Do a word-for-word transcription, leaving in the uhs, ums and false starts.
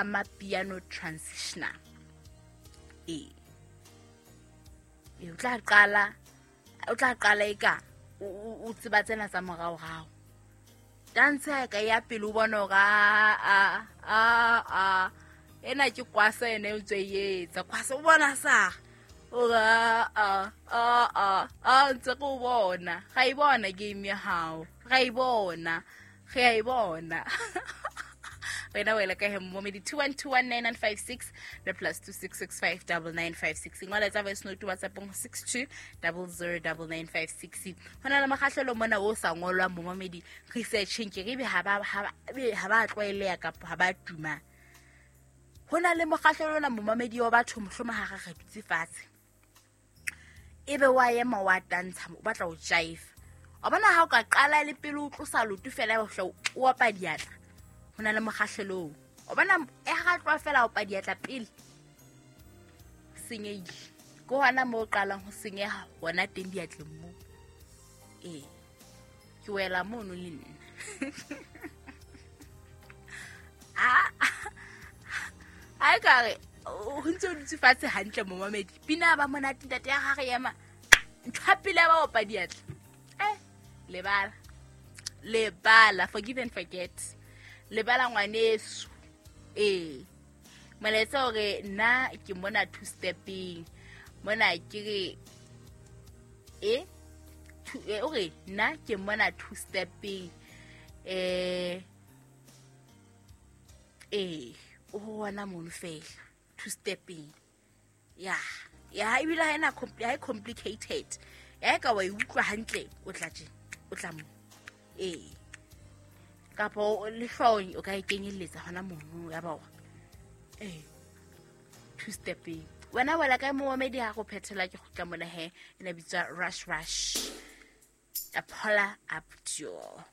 Amapiano transitioner. Ee, ee, o tla qala, o tla qala eka o o o tseba tsena tsa moraorao. Dance ya ka ya pele o bona hore a a a a ena ke kwasa ene o ntse e etsa kwasa o bona sa o a a a a a ntse go bona ga e bona game ya hao ga e bona ge a e bona. Wena wela ka he momedi two one two one nine nine five six le plus two six six five double nine five six. Ngola tsa voice note WhatsApp six two double zero double nine five six. Ho na le mokgahlelo mona o sa ngolwang momedi researching ke re be ha ba ha ba tlwaeleya kapa ha ba tuma. Ho na le mokgahlelo ona momedi wa batho mohloma ha re dutse fatshe. Ebe wa ema wa tantsha o batla ho jive. O bona ha o ka qala le pele o tlosa loto fela o hla o opa diatla. Ho na le mokgahlelo. O bona e ha tloha fela o opa diatla pele. Senyehile. Ke hona moo o qalang ho senyeha hona teng diatleng moo. Ee. Ke wela mono le nna. Ah. Ai ka re o ntse o dutse fatshe hantle momamedi. Pina ba monate ntate ya gagwe ema. Ntho ya pele ba opa diatla. Eh, lebala. Lebala, forgive and forget. Lebala ngwaneso. Eh. Molaetsa hore nna ke mona two stepping. Mona ke re eh two eh ore nna ke mona two stepping. Eh eh o bona mono fela two stepping. Ya, ya ebile ha ena ha complicated. Ya ka wa e utlwa hantle o tla tje, o tla mo. Eh. Kapo le hlong o ka e kenyelletsa hona mono ya bawa. Eh. Two stepping. Wena wela ka momedi ha go phethela ke gutla mona he ena bitswa Rush Rush. Apola Abdul.